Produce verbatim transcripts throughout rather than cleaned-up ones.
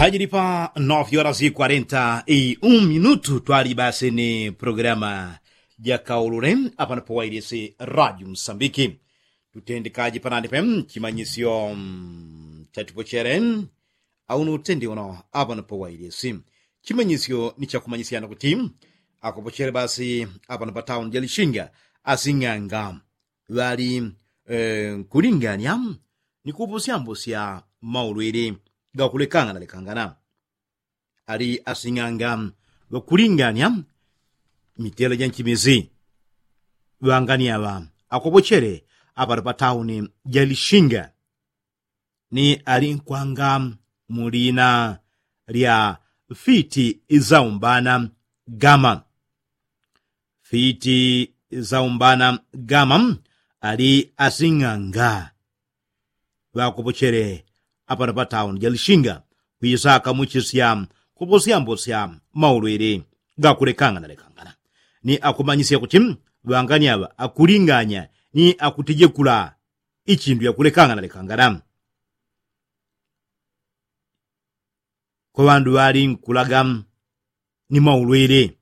Ajili pa nove horas e quarenta e um minutu twali basi ni programa ja kaulule apano pawailisi radio msambiki. Tutendekaji panani pe chimanyisyo chatipochele. Auno utendi uno apano pawailisi chimanyisyo ni chakumanyisyana kuti akopochele basi apano pa tauni ja lishinga asing'anga ŵali nkulinganya ni kupusyambusya maulwili gakulekangana lekangana. Ali asing'anga ŵakulinganya mitela ja nchimisi ŵangani aŵa akopochele apano pa tauni ja lishinga ni ali nkwanga mu lina lya fiti saumbana gama. Fiti saumbana gama ali asing'anga ŵakopochele apano pa tauni ja lishinga kwisaka muchisya kupusyambusya maulwili gakulekangana lekangana ni akumanyisya kuti ŵangani aŵa akulinganya ni akutejekula ichindu yakulekangana lekangana. Kwa ŵandu ŵali nkulaga ni maulwili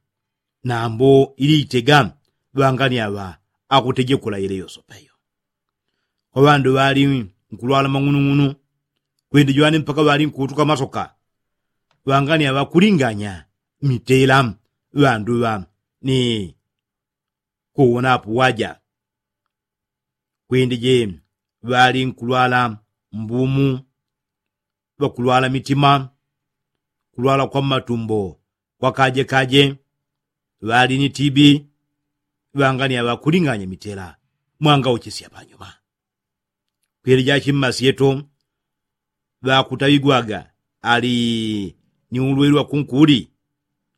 nambo ili itega ŵangani aŵa akutejekula ile yosopeyo. Kwa ŵandu ŵali nkulwala mang'unung'unu kwindi jwani mpaka ŵali nkutuka masoka ŵangani aŵa akulinganya mitela ŵandu ŵa ni kuwonapo waja. Kwindije ŵali nkulwala mbumu ŵakulwala mitima kulwala kwa mmatumbo kwa kajekaje ŵali ni tibi. Ŵangani aŵa akulinganya mitela mwangauchisya panyuma. Kwilija chimmasi yeto ŵakutaŵigwaga ali ni ulweli wa kunkuli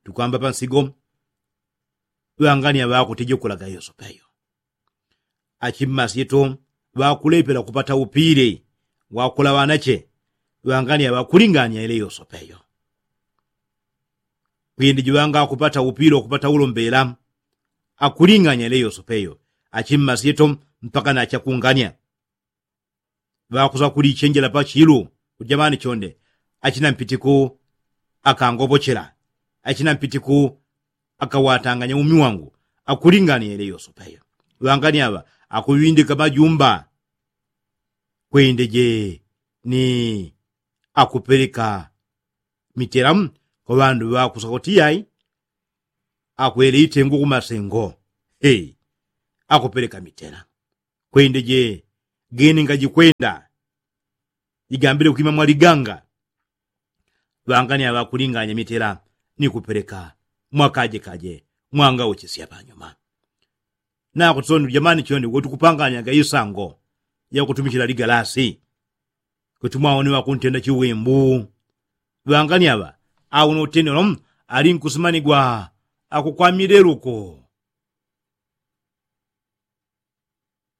tukwamba pansigo. Ŵangani aŵa akutejekulaga yosopeyo achimmasi yeto ŵakulepela kupata upile wakulaŵanache. Ŵangani aŵa akulinganya ile yosopeyo kwindi jiŵanga akupata upile wakupata ulombela akulinganya ile yosopeyo achimmasi yeto mpaka nachakunganya. Ŵakusa kulichenjela pa chilu kuti jamani chonde achina mpitiku akangopochela achina mpitiku akawatanganya umi wangu. Akulinganya ile yosopeyo ŵangani aŵa akuŵindika majumba kwindeje ni akupeleka mitela kwa ŵandu ŵakusa kuti yai akwele itengu kumasengo. Akupeleka mitela kwindeje gene ngajikwenda jigambile kwima mwaliganga. Ŵangani aŵa akulinganya mitela ni kupeleka mwakajekaje mwangauchisya panyuma. Nakuti sondi jamani chonde wotukupanganyaga isango yakutumichila ligalasi kuti mwaone ŵakuntenda chiwimbu. Ŵangani aŵa auno utenelo ali nkusimanigwa akukwamileluko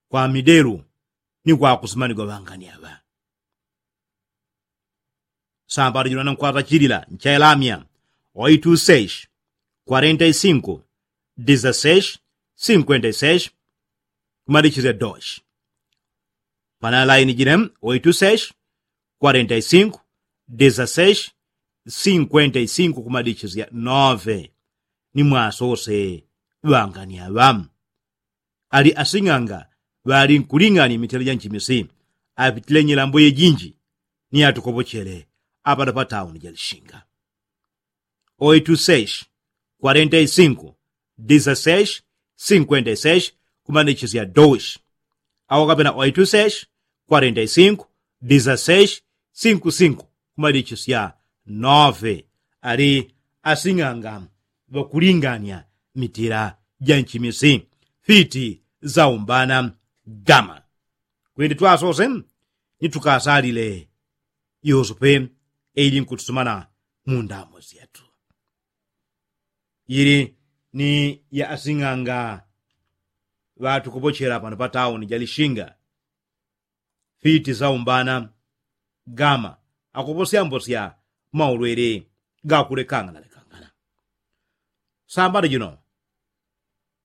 kwa midelu ni kwakusimanigwa ŵangani aŵa. Sambala jino nankwata chilila nchailamya oitu seis kwarenta i sinku dizaseis sinkwenta i seis kumadichizya dois. Pana laini jine oitu seis kwarenta i sinku dizaseis sinkwenta i sinku kumadichizya nove. Ni mwasose ŵangani aŵa ali asing'anga ŵali nkuling'anya mitela ja nchimisi apitile nyilambo yejinji ni atukopochele apano pa tauni ja lishinga. Oitu seis kwarenta i sinku dizaseis sinkwenta i seis kumanichizya dois. Awo kapena oitu seis kwarenta i sinku dizaseis sinku sinku kumadichizya nove. Ali asing'anga ŵakulinganya mitela ja nchimisi fiti saumbana gama. Kwindi twasose ni tukasalile yosope eili nkutusumana mu ndamo syetu. Ili ni ya asing'anga ŵatukopochela pano pa tauni ja lishinga fiti saumbana gama akuposyambosya maulwele gakulekangana lekangana. Sambala jino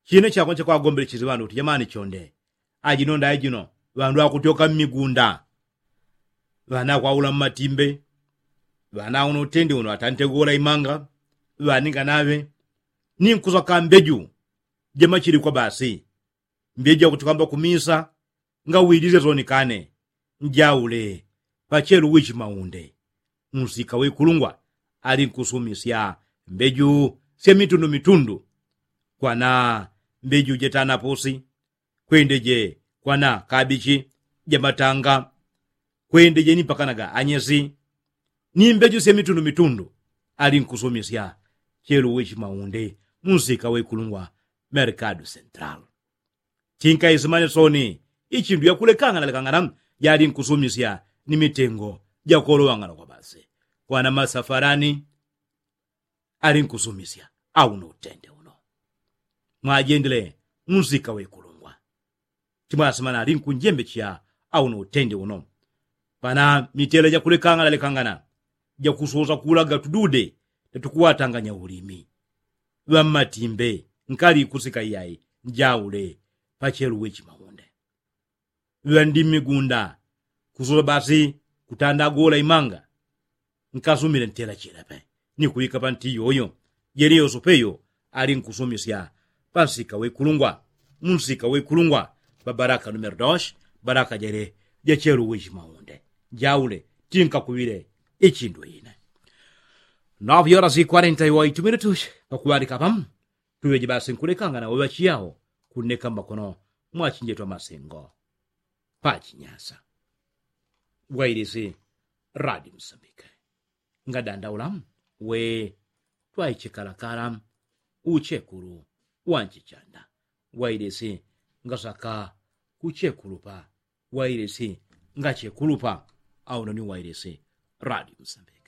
chine chakwe chakwagombele chizi ŵandu kuti jamani chonde ajino ndaye jino ŵandu akutyoka mmigunda ŵana akwaula mmatimbe Ŵana uno utende uno atante gola imanga ŵaninga naŵe ni nkusaka mbeju jamachilikwa basi. Mbeju yakuti kwamba kumisa ngawilize sonikane njaule pachelu wichi maunde. Munsika wekulungwa ali nkusumisya mbeju sya mitundu mitundu. Kwana mbeju jetanapusi kwendeje kwana kabichi jamatanga kwendeje ni pakanaga anyesi ni mbeju sya mitundu mitundu. Ali nkusumisya chelu wichi maunde munsika wekulungwa merkadu sentral. Tinkaisimane soni ichindu yakulekangana lekangana jali nkusumisya ni mitengo jakolowangana kwa basi kwana masafarani. Ali nkusumisya au no utende uno mwajendele munsika wekulungwa. Timwasimana ali nkunjembecheya au no utende uno pana mitele jakulekangana lekangana jakusosa kulaga tudude tatukuwatanganya ulimi. Ŵammatimbe nkali kusika iyai njaule pachelu wichi maunde. Ŵandi mmigunda kusosa basi kutanda agola imanga nkasumile ntela chila pe ni kuŵika panti yoyo. Jeli yosope yo ali nkusumisya pansika wekulungwa munsika wekulungwa pa baraka numero dos baraka jele jachelu wichi maunde. Njaule tinkakuŵile ichindu ine. Nove horas y kwarenta y oitu minutus pakuŵalika pamu tuŵeje basi nkulekangana weŵachiyao kunneka mmakono mwachinjetwa masingo pachinyasa. Wailisi radi musambike ngadandaula we twaichikalakala uchekulu wanchichanda. Wailisi ngasaka kuchekulupa wailisi ngachekulupa. Auno ni wailisi radi musambike.